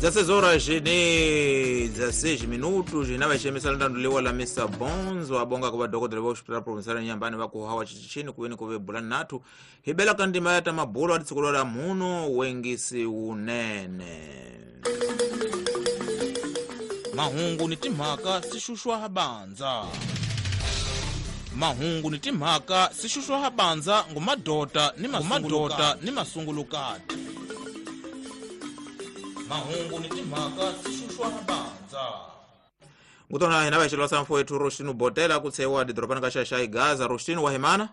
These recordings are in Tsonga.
16 horas e 16 minutos na vaxemisa ndanduliwa la Mr Bonzo abonga ku vadokodela va hospital provincial Inhambane va ku hawa xichini ku veni ku ve bula nathu hi bela ka ndima ya ta mabulo a tisiku la muno wengisi wunene. Mahungu ni timhaka swi xuxwa banza. Mahungu ni timhaka swi xuxwa banza ngumadota ni mamadota ni masungulukati. Mahungu ni timhaka swi xuxwa banza. Ngutona hina vaxelo sa mfowethu Rostino Botela ku tshewa didorobani ka Xaxai Gaza. Rostino wa himana?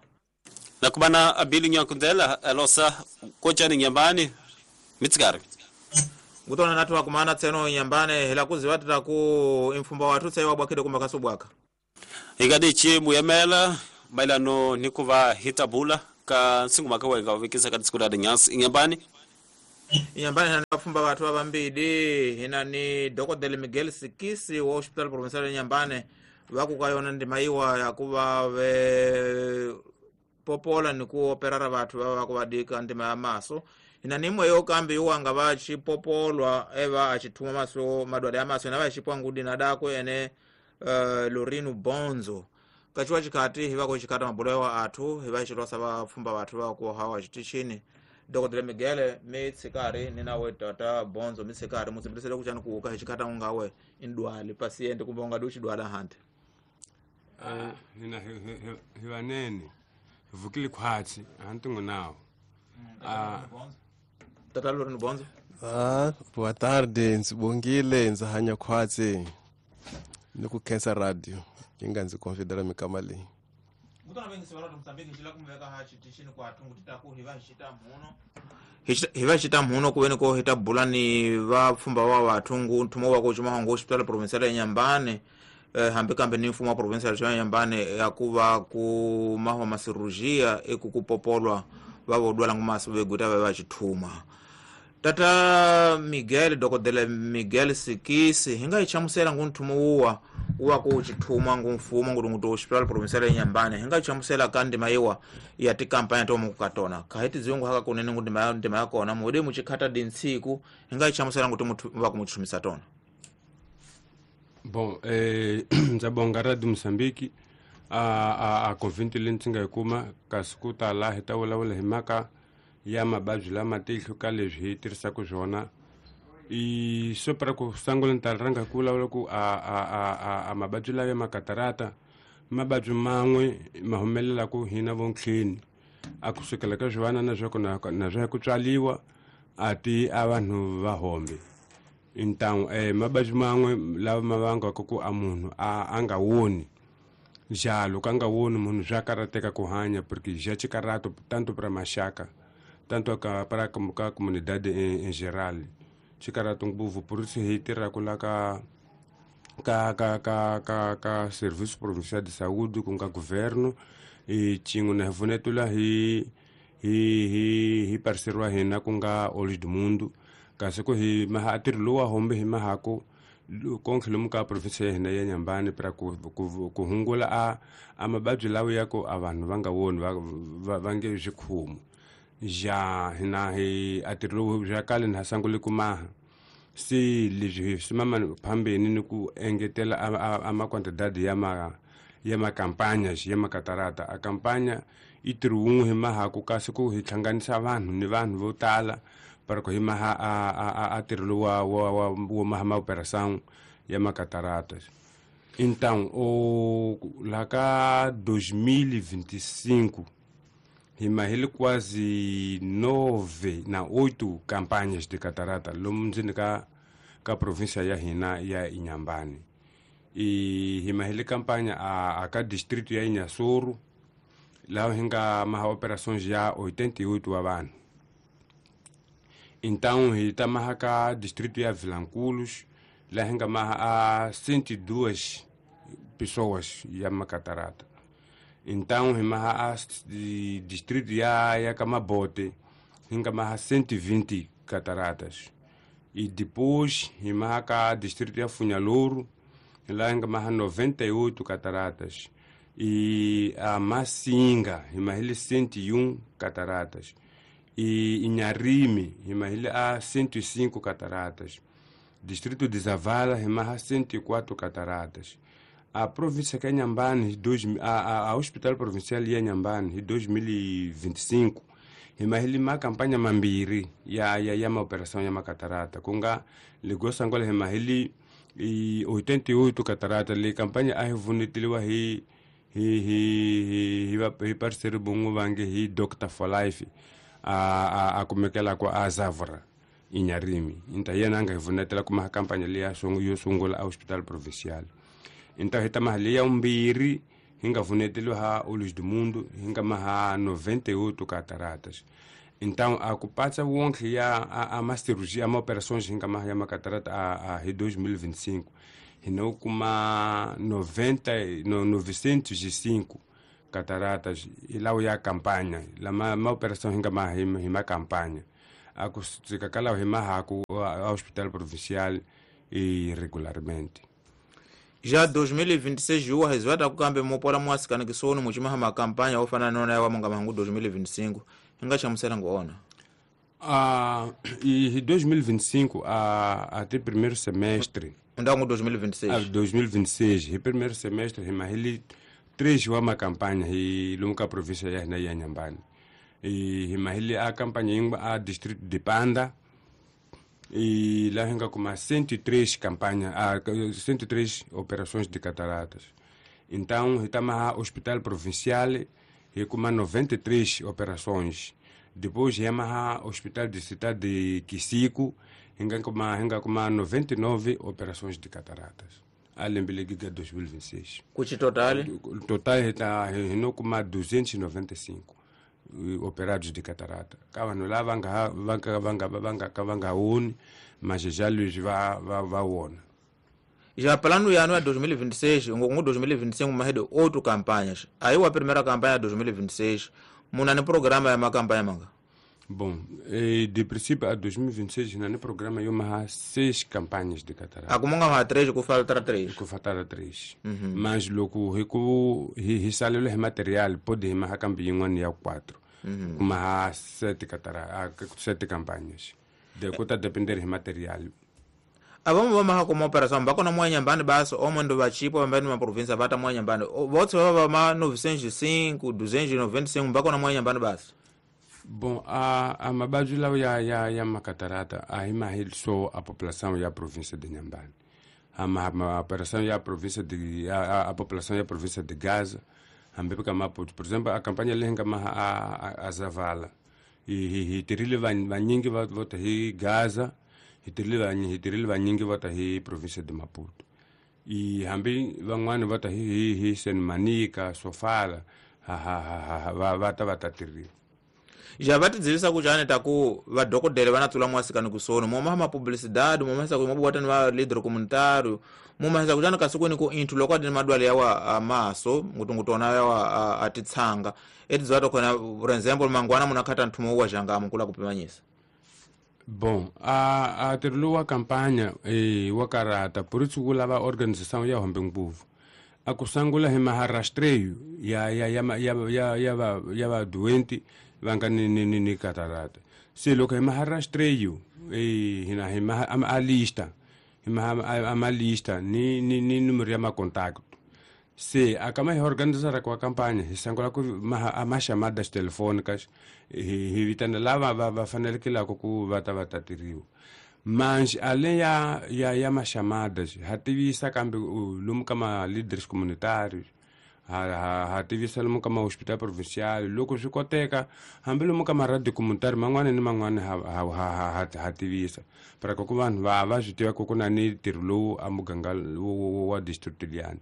Nakubana abili nyakundela alosa kochani Inhambane mitsikari. Ngutona nathu akumana tseno Inhambane hela kuzivatira ku imfumba wathu tsewa bwakhile kumba kasubwaka. Hikadichi muyemela mailano nikuva hitabula ka singumaka wenga vekisa ka tsikula de nyans Inhambane. Inhambane hina vafumba vathu va vambili hina ni Dr. Miguel Sikisi wa Hospital Provincial Inhambane va ku ka yona ndima yiwa ya ku va ve popola ni ku operara vathu va ku va dika ndima ya maso. Hina ni imwe yo kambi yuwanga va xipopolwa eva a xithuma maso madwala ya maso na va xipwa ngudi na dako ene Lorino Bonzo. Kachiwa chikhati hi va ku xikhata mabulo ya athu hi va xilosa va pfumba vathu va ku hawa xitichini. Dr. Miguel mitsikari ni nawe tata Bonzo mitsikari mutsibilisele ku chani ku ka xikhata ungawe indwali paciente kumbe unga du xidwala hante. Hina hi vanene vukile khwatsi hantingo nawo. Tata Lorino Bonzo. Boa tarde, ndzi ndzi hanya khwatsi ni ku khensa radio yi nga ndzi confidela mikama leyi. Ngutona vengisi va Mozambique xila kumveka ha xitichini ku athungu tita ku hi va xita mhuno. Hi va xita mhuno ku veni ko hi ta bula ni va pfumba wa vathungu nthumo wa ku xuma ngo Hospital Provincial Inhambane hambi kambe ni mfumo wa Provincial Inhambane ya ku va ku mahwa masirurgia eku ku popolwa va vodwala ngumaso veguta va va xithuma. Tata Miguel Dr. Miguel Sikisi hi nga yi chamusela ngu nthumo wuwa wa ku xithuma ngu mfumo ngu ngu Hospital Provincial Inhambane hi nga yi chamusela ka ndima yiwa ya tikampanya to mu ka tona kha hi tidzungu haka kunene ngu ndima ya kona mude mu chikhata dintsiku hi nga yi chamusela ngu muthu va ku mu chumisa tona. Bom, ndza bonga Radio Mozambique a convite leyi ndzi nga yi kuma kasi ku tala hi ta vulavula hi mhaka ya mavabyi lama tihlo ka leswi hi tirhisaka swona. I swo para ku sungula ni ta rhanga ku vulavula ku a mavabyi lawa ya makatarata mavabyi man'we ma humelelaku hina vontlheni a kusukela ka swivanana na swa ku na swa ku tswaliwa a ti a vanhu va hombe. Então mavabyi man'we lawa ma vangaka ku a munhu a nga woni njalo ka nga woni munhu swa karhateka ku hanya porque já xikarato tanto para maxaka tanto ka para ka comunidade em geral xikarato ngopfu por isso hi tirhaka la ka ka ka ka ka ka Serviço Provincial de Saúde ku nga governo e xin'we na hi pfunetula hi hi hi hi parceiro wa hina ku nga Olhos do Mundo kasi ku hi maha ntirho lowu wa hombe hi mahaku konke lomu ka province ya hina ya Inhambane para ku ku hungula a mavabyi lawa ya ku a vanhu va nga woni va nge swikhumu ja hina hi a ntirho lowu bya kale na sungule ku maha se leswi hi swi mama phambeni ni ku engetela a maquantidade ya ma ya makampanya ya makatarata. A kampanya i ntirho wun'we hi mahaku kasi ku hi hlanganisa vanhu ni vanhu vo tala para ku hi maha a ntirho lowu wa maha ma operação ya makatarata. Então o lá ka 2025 hi mahile quase 9 na 8 campanhas de catarata lomu ndzeni ka província ya hina ya Inhambane. E hi mahile campanya a ka distrito ya Inhassoro laha hi nga maha operações ya 88 wa vanhu. Então hi ta maha ka distrito ya Vilanculos laha hi nga maha a 102 pessoas ya macatarata. Então hi maha a distrito ya Camabote hi nga maha 120 cataratas. E depois hi maha ka distrito ya Funhalouro lá hi nga maha 98 cataratas. E a Massinga hi mahile 101 cataratas. E Inharime hi mahile a 105 cataratas. Distrito de Zavala hi maha 104 cataratas. A província que é Inhambane, a Hospital Provincial ya Inhambane, em 2025, hi mahili ma campanha mambiri ya ma operação ya ma catarata. Kunga ligosa ngola hi mahili 88 catarata le campanha a revunitiliwa hi hi parceiro bongo vange hi Doctor for Life a kumekela kwa Azavra Inharime. Então yena anga revunitela kuma campanha le ya yo sungula a Hospital Provincial. Então hi ta mahali ya umbiri hinga vuneteliwa ha Olhos do Mundo hinga maha 98 cataratas. Então a kupatsa wonke ya a ma cirurgia, a operações hinga maha ya ma catarata a 2025 hino kuma 905 cataratas ila ya campanha la ma operação hinga maha hima campanha a kusikakala hima ha ku Hospital Provincial e regularmente. Já 2026 juwa hezwata kukambe mopola mwasikana kisono muchimaha makampanha ofana nona yawa monga mangu 2025 inga chamusera ngoona. E 2025 até primeiro semestre. Então 2026. A 2026, e primeiro semestre himahili três wa makampanha e lunga província ya na ya Inhambane. E himahili a campanha ingba a distrito de Panda. E lá hinga kuma 103 campanha, 103 operações de cataratas. Então, hitama Hospital Provincial e kuma 93 operações. Depois Yamaha Hospital de Cidade de Quisico, hinga kuma 99 operações de cataratas. Além de 2026. Custo total? Total está hino kuma 295 operados de catarata. Kava lá vanga mas já lhes va wona. Já plano ya ano ya 2026, ngongo 2025 mahedo 8 campanhas. Aí a primeira campanha 2026, muna ni programa ya makampanha manga. Bom, de princípio a 2026 na programa eu maha 6 campanhas de catarata. Akumonga ma 3 ku falta 3. Ku falta 3. Mas loku hiku hisalelo hi material pode maha kambi yin'wana ya 4. Kuma 7 catarata, 7 campanhas. De kuta depender hi material. Abamo vamaha kuma operação bakona mwa Inhambane baso omo ndo vachipo vambani ma província vata mwa Inhambane. Votse vava ma 905, 295 bakona mwa Inhambane baso. Bom, a mabaju lao ya macatarata a imahil so a população e a província de Inhambane. A operação e a província de a população e a província de Gaza, ambeka Maputo, por exemplo, a campanha lenga a Zavala. E terile vanyingi vota hi Gaza, e terile vanyingi vota hi província de Maputo. E hambi van'wana vota hi Senmanica, Sofala, vata vatatirila. Já vai te dizer isso aqui já taku vadokodele vanatsula mwasikani kusono momaha mapublicidade momahisa ku mobwata ni va líder comunitário momahisa kujana kasuku ku inthu loko adi madwale yawa amaso ngutungutona yawa atitsanga etidziwa tokona por exemplo mangwana munakhata nthumo wa jangamo kula kupimanyisa. Bom, a tirilo wa campanha wa karata por isso kulava organização ya hombe nguvu a kusangula hi maharastreio ya va doente vanga ni catarata. Se loko hi maharastreio hina hi a lista hi a lista ni número ya ma contato. Se a kama hi organizar kwa campanha hi sangula ku a ma chamadas telefônicas hi vitana lava va fanele lako ku vata vatatiriwa. Mas além ya ma chamadas ha tivisa kambe lomu ka ma líderes comunitários ha tivisa lomu ka ma hospital provincial loko swi koteka hambi lomu ka ma radio comunitário man'wana ni man'wana ha tivisa para ku vanhu va swi tiva ku ku na ni ntirho lowu a muganga wa district liyani.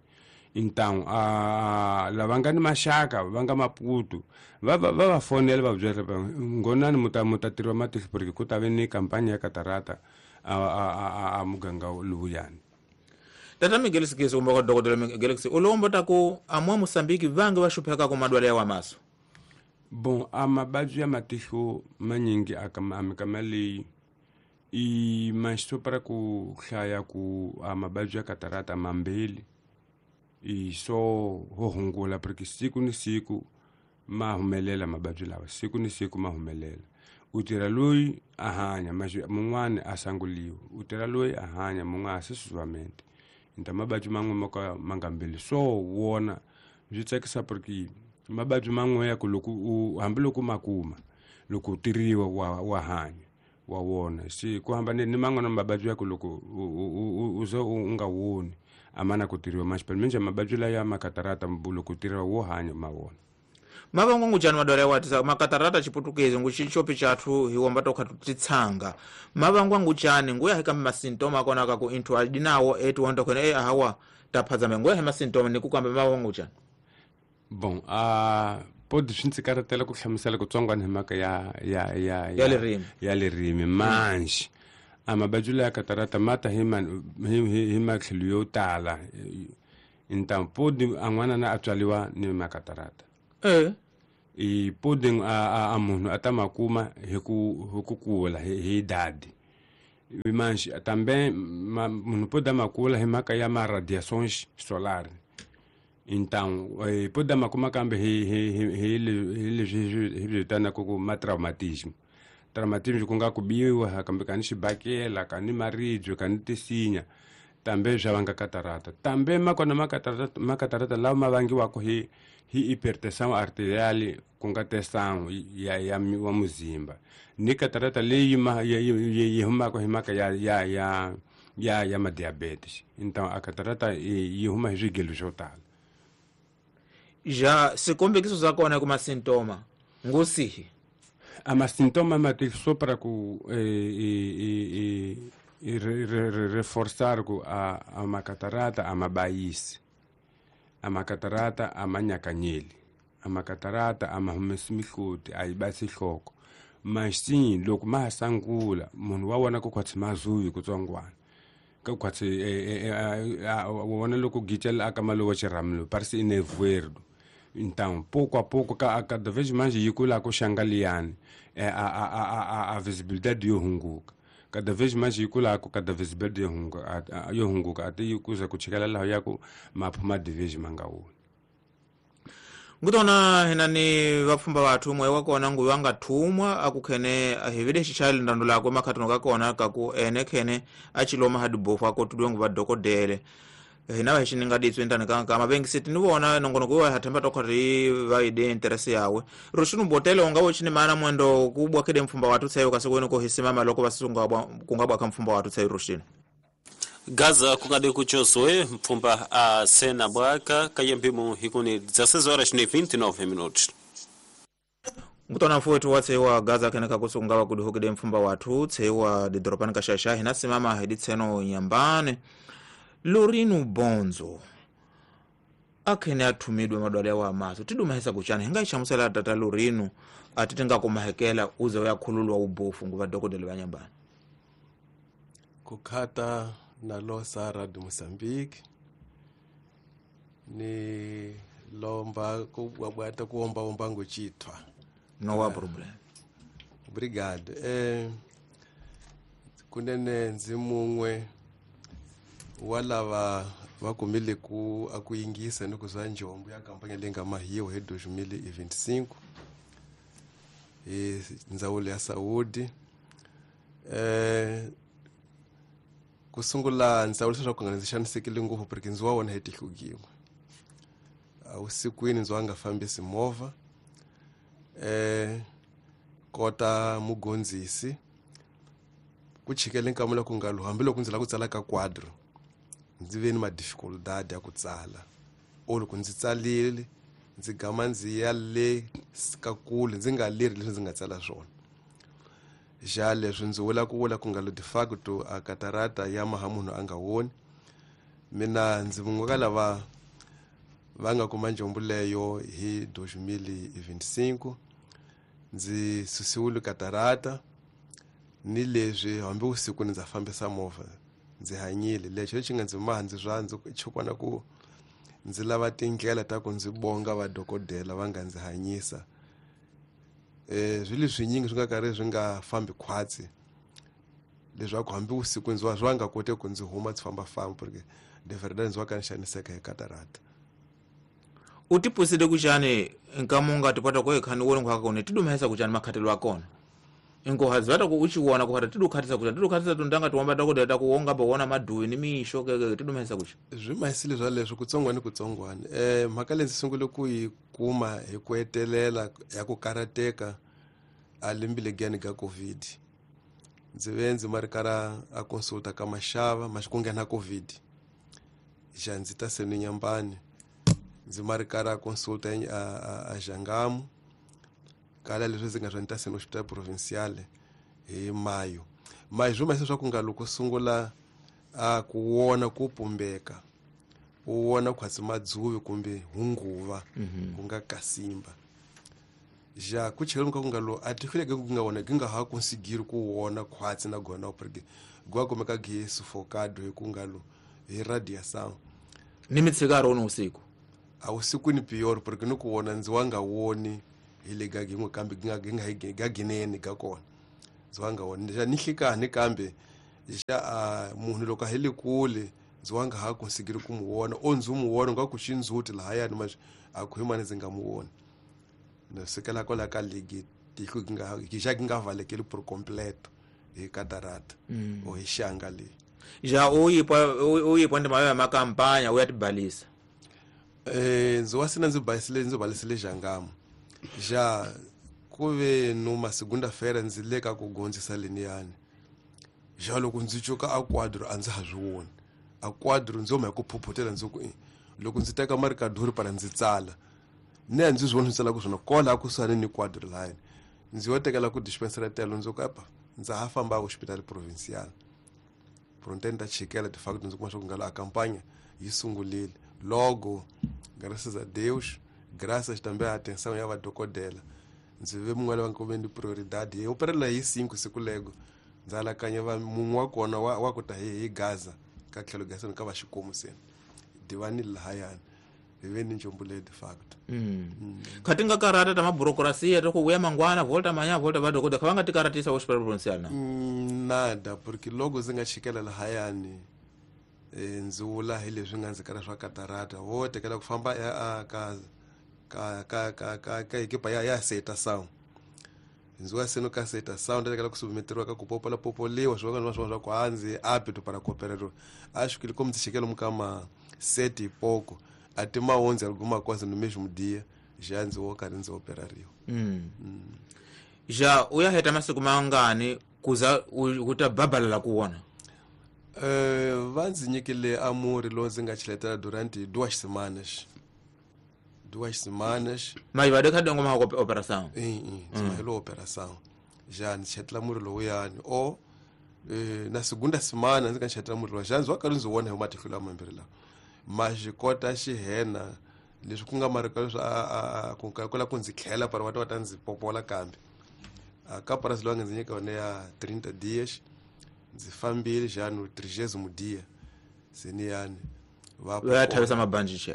Então lava nga ni maxaka va nga Maputo va fonela va byela ngonani muta tirhiwa matihlo porque ku ta ve ni campagne ya catarata a muganga lowuyani. Tata Miguel Sigisi kumbe kwa Dr. Miguel Sigisi ulombo taku amwa Mosambiki vange va xupheka ku madwale ya maso. Bom, a mabaju ya matihlo manyingi amikama leyi i mas para ku hlaya ku a mabaju ya catarata mambili i so ho hungula porque siku ni siku ma humelela mabaju lawa siku ni siku ma humelela. U tirha loyi a hanya mas mun'wani a sanguliwa, u tirha loyi a hanya mun'wana sucessivamente. Então mabadji man'we mo ka ma nga mbili so wona swi tsakisa porque mabadji man'we ya ku loko u hambiloko ma kuma loko u tiriwa wa hanya wa wona se ku hambane ni man'wana mabadji ya ku loko u ze u nga woni a ma na ku tiriwa mas pelo menos mabadji laya ma katarata loko u tiriwa wo hanya ma wona. Mavango nguchani madwala ya watisa makatarata chiputukezi ngu chichopi chathu hiwomba tokha tutitsanga mavango nguchani nguya hika masintoma akona kaku inthu adinawo etu wonto khone ahawa taphazame nguya he masintoma nikukamba mavango nguchani. Bom, pode swi ndzi karhatela ku hlamusela kutsongwana hi mhaka ya ya ririmi ya ririmi manji a mabadyi ya katarata mata hi hi matlhelo yo tala. Então pode a n'wana na a tswaliwa ni makatarata. I pode a munhu a ta ma kuma hi ku kula hi idade. Mas também munhu pode ma kula hi mhaka ya ma radiações solares. Então pode ma kuma kambe hi leswi hi vitanaka ku ma traumatismo. Traumatismo ku nga ku biwa kambe ka ni xibakela ka ni maribye ka ni tisinya tambe swa vanga katarata. Tambe makona makatarata lawa ma vangiwaka hi hipertensão arterial ku nga tensão ya wa muzimba ni katarata leyi yi humaka hi mhaka ya ma diabetes. Então a katarata yi huma hi swigelo swo tala. Ja swikombekiso swa kona kuma sintoma ngusihi? A masintoma ma só para ku reforçar ku a makatarata a mabayisi, a makatarata a manyakanyeli, a makatarata a mahumesi mihloti a yi basi nhloko. Mas sim loko ma ha sangula munhu wa vona ku khwatsi mazuyi kutsongwana ka khwatsi wa vona loko gicela aka malowa xirhamilo parece inevoeiro. Então pouco a pouco cada vez mais yi kula ku xangaliyani a visibilidade yo hunguka cada vez mais yi kula ku cada visibilidade yo hunguka ate yi kuza ku chikela laha ya ku maphu ma division ma nga woni. Ngutona hina ni vapfhumba vathu moya wa kona nguva nga thumwa akukhene hivile xichali ndando lakwe makhatano ka kona kaku ene khene a chiloma hadibofu akotudwe nguva dokodele hina va xininga ditswe ndani ka mavengisiti ni vona nongonoko wa hathemba tokha ri va ide interese yawe rushinu botele unga wo chini mana mwendo kubwa kede mfumba watu tsayo kasokweni ko hisimama loko vasunga kungabwa ka mfumba watu tsayo rushinu Gaza kungade kuchoswe mpfumba a sena bwaka kayembimu hikuni 16 horas e 29 minutos. Ngutona mfuwetu watsewa Gaza kene kakusunga wakuduhukide mfumba watu tsewa didoropani kashasha hina simama hiditseno nyambane Lorino Bonzo akhene athumidwe madwala wa maso tidumahisa kuchana hinga ixamusela tata Lorino atiti nga kumahekela uze uyakhululwa ubofu nguva dokodela va nyambane. Kukhata na losa Radio Mozambique ni lomba kubwata kuomba omba ngochithwa no wa problem. Obrigado. Kunene ndzi mun'we wa lava va kumile ku a ku yingisa ni ku zwa njombo ya kampanya leyi nga mahiwa hi 2025 hi ndzawulo ya Saudi. Ku sungula ndzawulo leswaku nga ndzi xanisekile ngopfu porque ndzi wa wona hi tihlugiwa usikwini ndzi wa nga fambisi movha kota mugondzisi ku chikele nkamula ku nga hambiloko ndzi lava ku tsala ka quadro ndzi ve ni madificuldade ya ku tsala or loko ndzi tsalile ndzi gama ndzi ya le ka kule ndzi nga leri leswi ndzi nga tsala swona. Ja leswi ndzi vula ku vula ku nga lo de facto a katarata ya maha munhu a nga woni. Mina ndzi mun'we ka lava va nga kuma njombo leyo hi 2025 ndzi susiwile katarata ni leswi hambi usiku ndza fambisa movha ndzi hanyile. Lexo lexi nga ndzi maha ndzi swa ndzi chukwana ku ndzi lava tindlela ta ku ndzi bonga vadokodela va nga ndzi hanyisa. Swilo swinyingi swi nga karhi swi nga fambi khwatsi leswaku hambi usiku ndzi wa swi nga kote ku ndzi huma ndzi fambafamba porque de verdade ndzi wa ka ni xaniseka hi katarata. U tipusile kuchani nkamunga tipata ko ekhani wona nkhwaka kone tidumahisa kuchani makhatelo akona? Inkohazi vata ku uchiwona ku hata tidukhatisa kucha tidukhatisa tundanga tiwamba takuda takuwonga bawona maduwi ni mixo keke tidumesa kucha swi mahisile swa leswo kutsongwani kutsongwani mhaka leyi ndzi sungule ku yi kuma hi ku hetelela ya ku karateka a lembile giyani ka COVID ndzi ve ndzi ma ri kara a consulta ka maxava ma ku nghena COVID xa ndzi ta seni nyambani ndzi ma ri kara a consulta a Xangamu kala leswi ndzi nga swa ni ta seni hospital provincial hi mayo mayo swi mahisa swa ku nga loko sungula a ku wona ku pumbeka u wona khwatsi madzuvi kumbe hunguva ku nga kasimba ja ku chela ka ku nga lo a ti hluleke ku nga wona gi nga ha consigiri ku wona khwatsi na gona porque gwa kumeka gi suffocado hi ku nga lo hi radiação ni mitshikaro ni usiku a usiku ni pior porque ni ku wona ndzi wa nga woni hi le ga gin'we kambe gi nga gi nga hi ga ginene ga kona ndzi wa nga woni ja ni hlikani kambe ja munhu loko a hi le kule ndzi wa nga ha consigiri ku mu wona o ndzi mu wona nga ku xindzhuti lahayani ma a ku hi mani ndzi nga mu woni na sukela kwala ka ligi tihlo gi nga gi xa gi nga valekeli por completo hi catarata o hi xanga leyi ja u yipwa ndima ya makampanya u ya tibalisa ndzi wa sina ndzi balisile ndzi balisile Xangamu ja ku ve numa segunda-feira ndzi le ka ku gondzisa leniyani ja loko ndzi cuka a quadro a ndzi ha swi voni a quadro ndzi huma hi ku phuphutela ndzi ku loko ndzi teka marikaduri para ndzi tsala ni a ndzi swi voni swi tsalaka swona kwala kusuhani ni quadro line ndzi yo tekela ku dispensary telo ndzi ku apa ndza ha famba hospital provincial pronto ta chikela de facto ndzi kuma swa ku nga la a campanha yi sungulile logo graças a Deus graças também à atenção ya vadokodela ndzi ve mun'wana va nkume ni prioridade hi operela hi 5 siku lego ndzi alakanya va mun'we wa kona wa ku ta hi Gaza ka tlhelo Gaza ka va xikomu se divani lahayani hi ve ni njombo leyi de facto kha ti nga karata ta maburokrasiya ta ku vuya mangwana volta manya volta vadokodela kha va nga ti karatisa hospital provincial na nada porque logo ndzi nga chikela lahayani ndzi vula hi leswi nga ndzi kara swa katarata vo tekela ku famba ka ka ka ka ka ka ekipa ya aceitação ndzi wa seno ka aceitação nda tekela ku submeteriwa ka ku popola popoliwa swin'wana na swin'wana swa ku a ndzi apto para cooperar acho que como ndzi chikela mukama sete e pouco até ma 11 alguma coisa no mesmo dia já ndzi wo karhi ndzi operariwa ja u ya heta masiku mangani kuza ku ta babalela ku wona va ndzi nyikile amuri lowu ndzi nga cheletela durante 2 semanas 2 semanas mas va de kha dongo ma operação ndzi mahelo operação já ndzi chetela muri lowuyani o na segunda semana ndzi nga chetela muri lowa já ndzi wa karhi ndzi wona hi matihlo lama mambirhi lawa ma xi kota xihena leswi ku nga marika leswi ku ka ku ndzi tlhela para va ta va ta ndzi popola kambe a ka prazo lowu nga ndzi nyika yona ya 30 dias ndzi fambile já no 30 dia seniyani va ya thavisa mabandixi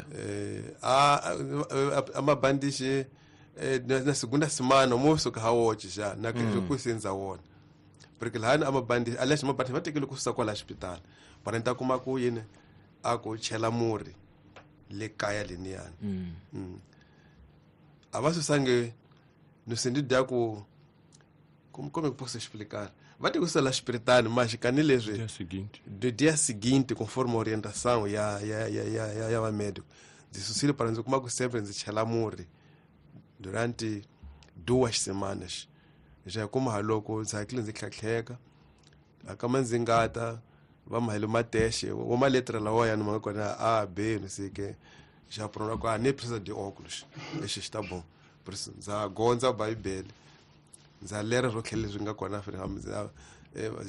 a mabandixi na segunda semana mo suka ha woxe xa na ku se ndza wona porque lahani amabandixi aliás mabandixi va tekele ku susa kwala xipitali para ni ta kuma ku yini a ku chela murhi le kaya leniyani a va susangi no sentido ya ku como é que posso explicar va te kususa la xipiritani mas kani leswi Dia seguinte. Do dia seguinte conforme a orientação ya ya vamédico ndzi susile para ndzi kuma ku sempre ndzi chela murhi durante 2 semanas já kuma ha loko ndzi hakile ndzi tlhatlheka akama ndzi ngata va mahele matexe wa maletra lawayani ma nga kona a b no sei que já pronto ku a nem precisa de óculos exi xi ta bom por isso ndza gondza bibele ndza lera swo tlhela leswi nga kona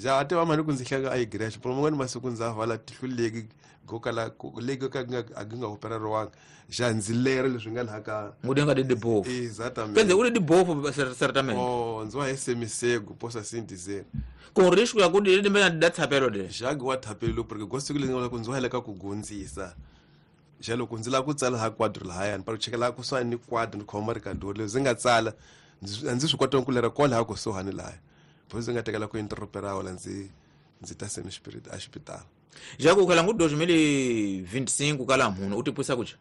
ja a tiva mani ku ndzi hleka a igreja por man'wani masiku ndza vala tihlo leki go kala leki ka a gi nga opereriwanga ja ndzi lera leswi nga laha ka ngude nga de dibofu exatamente quer dizer uri dibofu certamente oh ndzi wa hi semisego posso assim dizer com risco ya kuti ri mbe da thapelo de jagi wa thapelo porque go siku leri nga ku ndzi wa ka ku gondzisa ja loko ndzi lava ku tsala ha quadro lahayani para ku chekela kusuhani ni quadro ni khoma rikadori leswi ndzi nga tsala a ndzi swi kota ku lera kwalaha kusuhani lahaya bo ndzi nga tekela ku interrompera wala ndzi ta seni a xipitala já ku khala ngu 2025 kala munhu u tipwisa kucha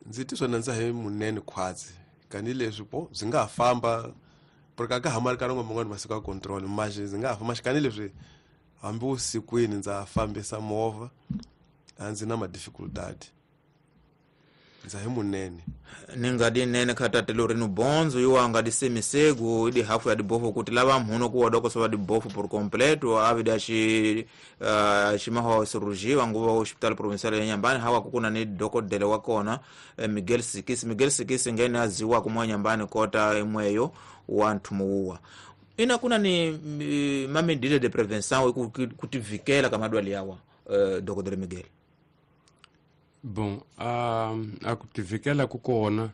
ndzi titwa na ndza hi munene khwatsi kanileswi po byi nga ha famba Porque a ka ha ma ri ka rin'we man'wani masiku ya control mas ndzi nga ha fa maxikani leswi hambi vusikwini ndza fambisa movha a ndzi na ma-difficultad ndza hi munene. Ni nga di nene kha tate Lorino Bonzo iwa nga di semisegu idi hafu ya dibofu kuti lava mhuno ku wadoko wa dibofu por completo avida xi ximaho cirurgia nguva hospital provincial ya Nyambani hawa kukuna ni dokodele wa kona Miguel Sikisi. Miguel Sikisi ngene aziwa kumwa Nyambani kota imweyo wa nthumuwa ina kuna ni mamedida de prevenção kutivikela ka madwali yawa dokodele Miguel. Bom, a kutivikela kukona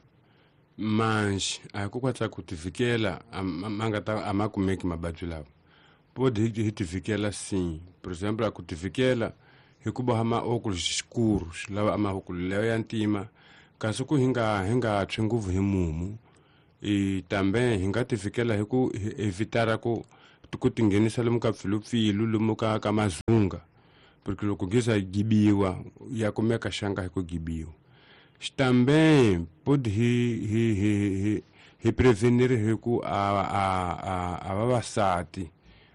mas a kukwatsa kutivikela manga a makumeki mabadzi lawa pode hitivikela sim. Por exemplo, a kutivikela hikuba hama óculos escuros lawa ama óculos lawa ya ntima kasi ku hinga tshwi nguvu hi mumu e também hinga tivikela hi ku evitara ku tinghenisa lomu ka pfilupfilu lomu ka mazunga porque loko giza gibiwa ya kumeka xanga hi ku gibiwa. Também pode hi prevenir hi ku a vavasati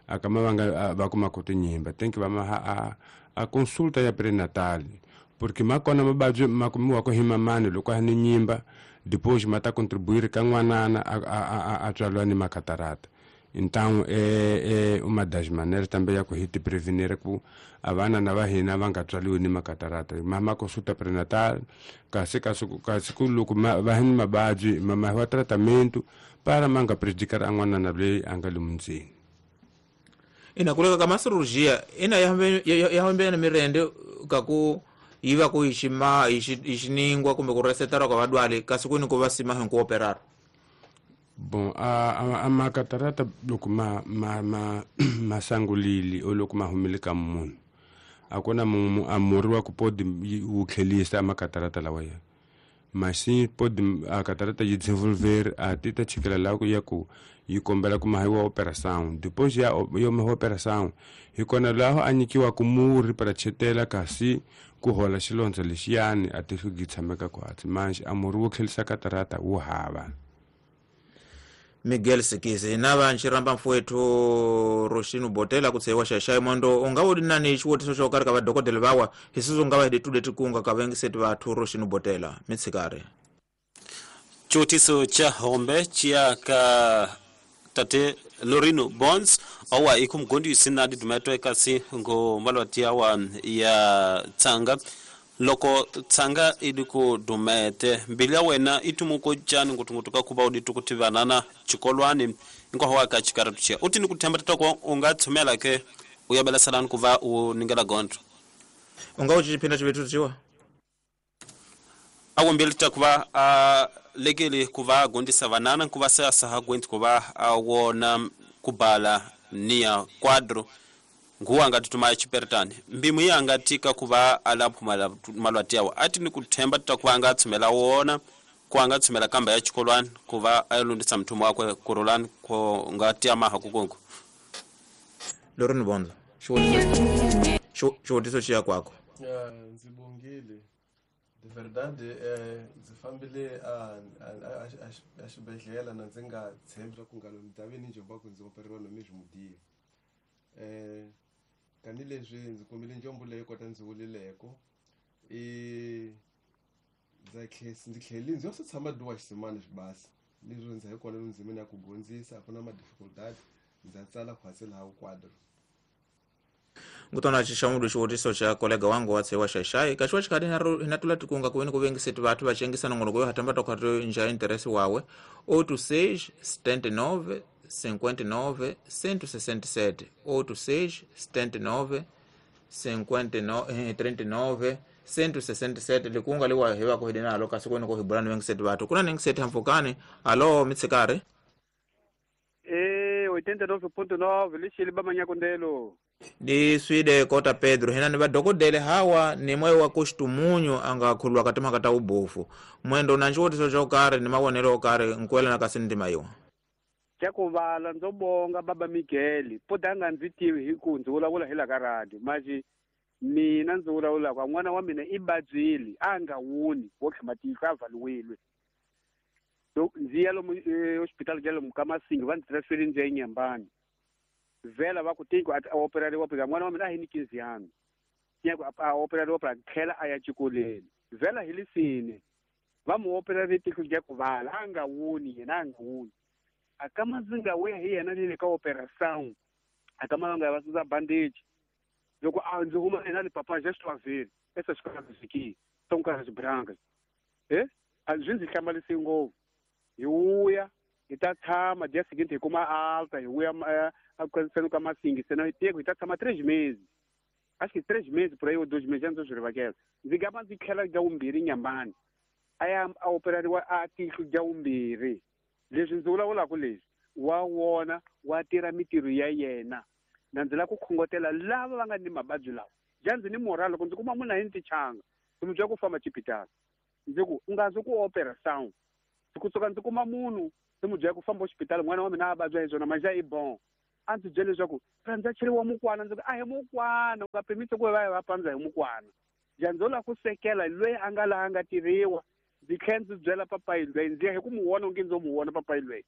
akama vanga va kuma ku tinyimba tem que va a consulta ya prenatal porque makona mabadzi ma kumiwa ku hi mamani loko a ni nyimba depois ma ta contribuir ka n'wanana a tswaliwa ni makatarata. Então é uma das maneiras também ya ku hi ti prevenir ku a vana na va hina va nga tswaliwi ni makatarata ma consulta prenatal kasi ku loko va hi ni mabadzi ma wa tratamento para ma nga prejudicar a n'wanana loyi a nga le mundzeni. Ina kuleka ka masirurgia ina ya hambene mirende ka ku yiva ku xima xiningwa kumbe ku resetara ka vadwali kasi ku ni ku va sima hi ku operar. Bom, a makatarata loko ma sangulili o loko ma humile ka munhu a ku na a murhi wa ku pode wu tlhelisa makatarata lawa ya mas sim pode a catarata yi desenvolver a tita chikela la ku ya ku yi kombela ku mahiwa operação depois ya yo mahiwa operação hi kona laho a nyikiwa ku murhi para chetela kasi ku hola xilondza lexiyani a ti hlugi tshameka kwatsi manje a murhi wo tlhelisa catarata wu hava. Miguel Sikisi na va nxiramba mfowethu Roshino Botela ku tshewa xaxai mondo u nga wu nani xivotiso xo karhi ka vadokodela vawa hi sweswo nga va hi tude tikunga ka vengiseti vathu Roshino Botela mitshikari. Xivotiso xa hombe xiya ka tate Lorino Bonds awa ikumgondisi na didumetwe kasi ngo malwati awa ya tsanga loko tsanga idi ku dumete mbili ya wena itumuko jani ngutungutu ka kuba uditu kutivanana chikolwani inkoho ka chikaratu chia utini kuthemba tatoko unga tsumela ke uyabela salani kuva uningela gontro unga uchiphinda chivetu chiwa awo mbili takuva a lekele kuva gondisa vanana kuva sasa hagwenti kuva awona kubala nia quadro nguwa ngati tumaya chiperetani mbimu iya ngatika kuva alaphu malwati yawo ati ni kuthemba takuva anga tsumela wona kuanga tsumela kamba ya chikolwani kuva ayolundisa mthumo wakwe kurulani ko ngati amaha kukongo Lorino Bonzo xivotiso xiya kwako. Ndzi bongile de verdade ndzi fambile a xibedhlele na ndzi nga tshembi swa ku nga ni ta ve ni njomba ku ndzi operiwa no mesmo dia tanihileswi ndzi kumile njombo leyi kota ndzi vulileko ndzi tlheli ndzi yo se tshama duwa xisimana xibasa leswi ndzi hi kona ndzimini ya ku gondzisa a ku na ma-difficultad ndza tsala khwatsi laha quadro. Ngutona xixamulo xivotiso xa kolega wangu wa tshewa xaxai kaxiwa xikhati hina tula tikunga ku veni ku vengiseti vathu va xengisa nongonoko yo hatamba tokhato nja interesi wawe 86 79 59 167 86 79 59 39 167 likunga liwa hiva ku hidinalo kasi kwene ku hibulani vengiseti vathu kuna nengiseti hamfukani alo mitsikari 89.9 lixili bamanyakondelo di swide kota Pedro hina ni vadokodele hawa ni moyo wa kuxitumunyu anga khulwa ka timhaka ta ubofu mwendo na xivotiso xo karhi ni mavonelo yo karhi nkuelana kasi ndima yiwa xa ku vala ndzo bonga baba Miguel po da nga ndzi tivi hi ku ndzi vulavula hi la ka radio manje mina ndzi vulavulaka n'wana wa mina i babyile a nga wuni wo tlhama tihlo a valiwile Ndzi ya lomu hospital ja lomu ka Masingi va ndzi transferini ndzi ya eNyembani. Vhela va ku tiko a operariwa phela n'wana wa mina a hi ni 15 anos. Tinha a operariwa pra tlhela a ya xikolweni. Vhela hi lisini. Va mu operare tihlo ja ku vala a nga woni yena a nga woni. A ka mazinga we hi yena le ka operação. A ka malanga va susa bandage. Loko a ndzi huma yena le papa já estou a ver. Essas coisas aqui são caras brancas. A swi ndzi hlamarisi ngopfu. Hi vuya hi ta tshama dia seguinte hi kuma alta hi vuya a ka Masingi se hi teko hi ta tshama 3 meses. Acho que 3 meses por aí ou 2 meses ndzi swi rivakela. Ndzi gama ndzi tlhela ja vumbirhi Nyambani. A ya a operariwa a tihlo ja vumbirhi. Leswi ndzi vulavulaka leswi wa wona wa tirha mitirho ya yena. Na ndzi lava ku khongotela lava va nga ni mavabyi lawa. Ja ndzi ni moral loko ndzi kuma munhu a hi ni tichanga. Ndzi mu byela ku famba xipitali. Ndzi ku u nga zi ku operação. Kusuka ndzi kuma munhu ndzi mu byela ku famba xipitali n'wana wa mina a vabya hi swona manje i bon. A ndzi byela leswaku rhandza cheriwa mukwana ndzi ku a hi mukwana u nga pimisi ku va va pandza hi mukwana. Ja ndzo lava ku sekela loyi a nga laha a nga tirhiwa. Ndzi tlhela ndzi byela papayi loyi ndzi ya hi ku mu vona onge ndzo mu vona papayi loyi.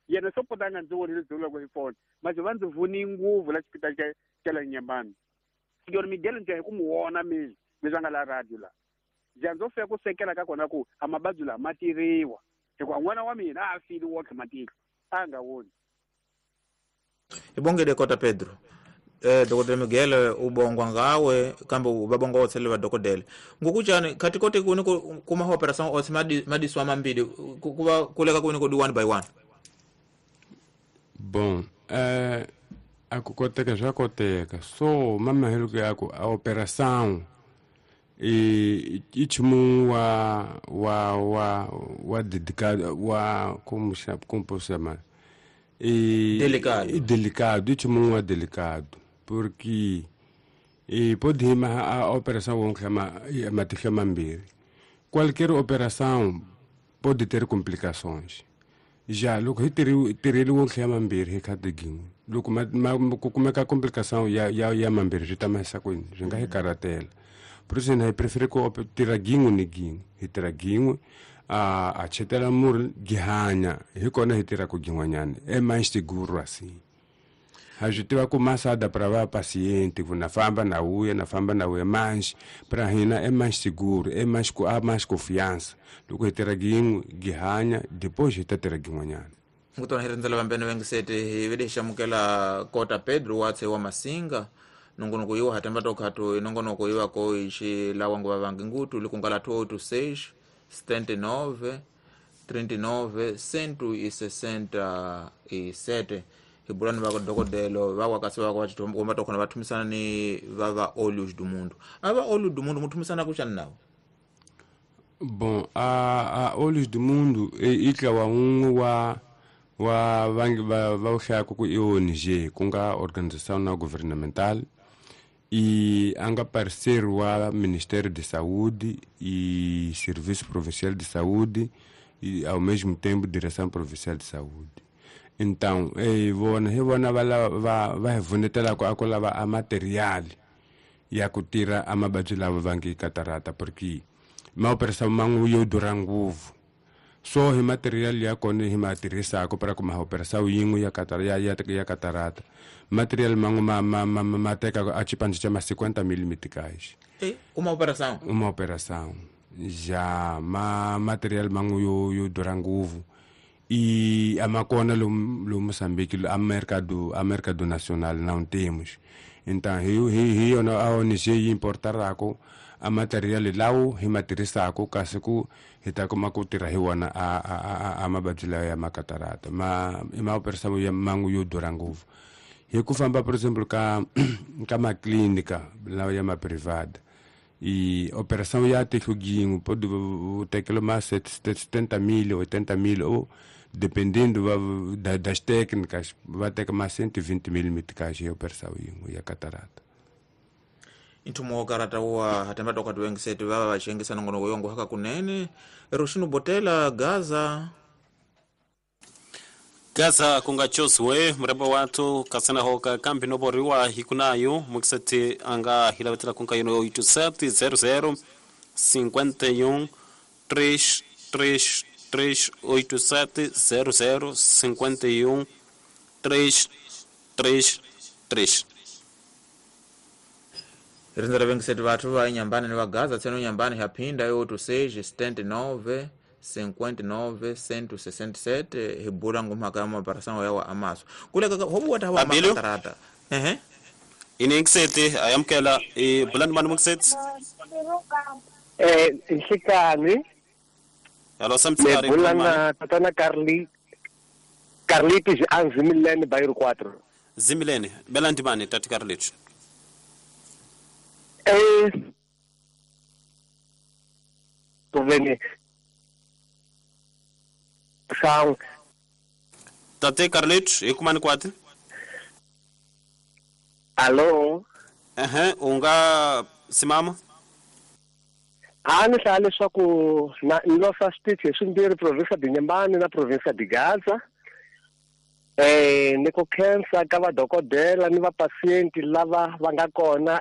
Yena swo kota a nga ndzi vonile ndzi vulaka hi foni. Manje va ndzi voni nguvu la xipitali xa la Nyembani. Senhor Miguel ndzi ya hi ku mu vona mina leswi a nga la radio la. Ja ndzo fika ku sekela ka kona ku a mavabyi lawa ma tirhiwa. Hikuva n'wana wa mina a file wotlhe matihlo a nga voni. Hi bongile kota Pedro. Dr. Miguel ubongwa ngawe kambe va bonga otse le va dokodela. Ngokuchani khati kote kuni kuma operação otse madiswa mambili kuva kuleka kuni ko do one by one. Bom, a ku koteka swa koteka. So mama helo ya ku a operação i nchumu wa dedicado wa como como posso chamar? Delicado. Delicado, nchumu wa delicado. Porque e pode rimar a operação vamos chamar matihlo mambirhi. Qualquer operação pode ter complicações. Já loko hi tirheli wo tlhela mambirhi hi khadi gin'we. Loko ku kumeka complicação ya mambirhi swi ta mahisa kwini swi nga hi karhatela. Por isso hi prefere ku tirha gin'we ni gin'we. Hi tirha gin'we a chetela murhi gi hanya hi kona hi tirhaka gin'wanyana é mais seguro assim. A gente vai começar a dar para paciente, na famba na uia, na famba na uia, mas para hina é mais seguro, é mais há mais confiança. Do que ter alguém que ganha, depois de ter alguém ganhar. Ngutona hirindzela vambene vengisete hi vede xamukela kota Pedro watse wa Masinga nongonoko yiwa hatamba tokhato inongonoko yiwa ko ixi lawa nguva vangi ngutu likungala 286 79 39 167 hibulani va dokodelo va wakasi va va tokhona va thumisana ni va Olhos do Mundo. A va Olhos do Mundo muthumisana ku xani nawo? Bom, a Olhos do Mundo i ntlawa wun'we wa vangi va hlayaka ku i ONG ku nga organização não governamental e a nga parceiro wa Ministério de Saúde e Serviço Provincial de Saúde e ao mesmo tempo Direção Provincial de Saúde. Então, hi vona va hi vunetela ku a ku lava a material ya ku tirha a mavabyi lava va nge catarata porque ma operação man'we yo durha ngopfu. So hi material ya kona hi ma tirhisaka para ku ma operação yin'we ya ya catarata. Material man'we ma teka a xipandzu xa ma 50 mil meticais. Uma operação? Uma operação. Já ma material man'we yo durha ngopfu. E a macona lo Moçambique, a mercado nacional não temos. Então, hi a ONG importará a material lao hi matirhisaka kasi ku hi ta kuma ku tirha hi wona a mavabyi lawa ya makatarata ma i ma operação ya mangu yo durha ngopfu. Hi ku famba por exemplo ka maclínica lawa ya ma privada e operação ya tihlo gin'we pode tekela ma 70 mil, 80 mil ou dependendo das técnicas va teka ma 120 mil meticais ya operação yin'we ya catarata. Ntumo wa karata wa hatamba toka tuwengisete vava vachengisa nongonoko yongo haka kunene Roshino Botela Gaza Gaza kunga choswe mrembo watu kasana hoka kambi noboriwa hikunayo mukisete anga hilavetela kunga yono 87 00 51 3 3 387 00 51 333. Rinza vengiseti vathu va Inhambane ni va Gaza tseno Inhambane yaphinda yo 86 79 59 167 hi bula ngomhaka ya maparasango yawa amaso kuleka hobu wata hawa Abilo? makatarata ehe Ini ngiseti ayamkela i bulani mani mungiseti. Nhlikani. Hello Me samtsari. bula na tatana Carli Carlitos Anzimilene Bairro 4. Zimilene bela ndimani tati Carlitos. Kuveni sang Tate Carlitos hi kumani kwati? Allo. Ehe, unga simama. A ni hlaya leswaku na ni losa switichi hi swimbirhi, provinsia de Inhambane na provinsia de Gaza. Ni ku khensa ka vadokodela ni vapasienti lava va nga kona.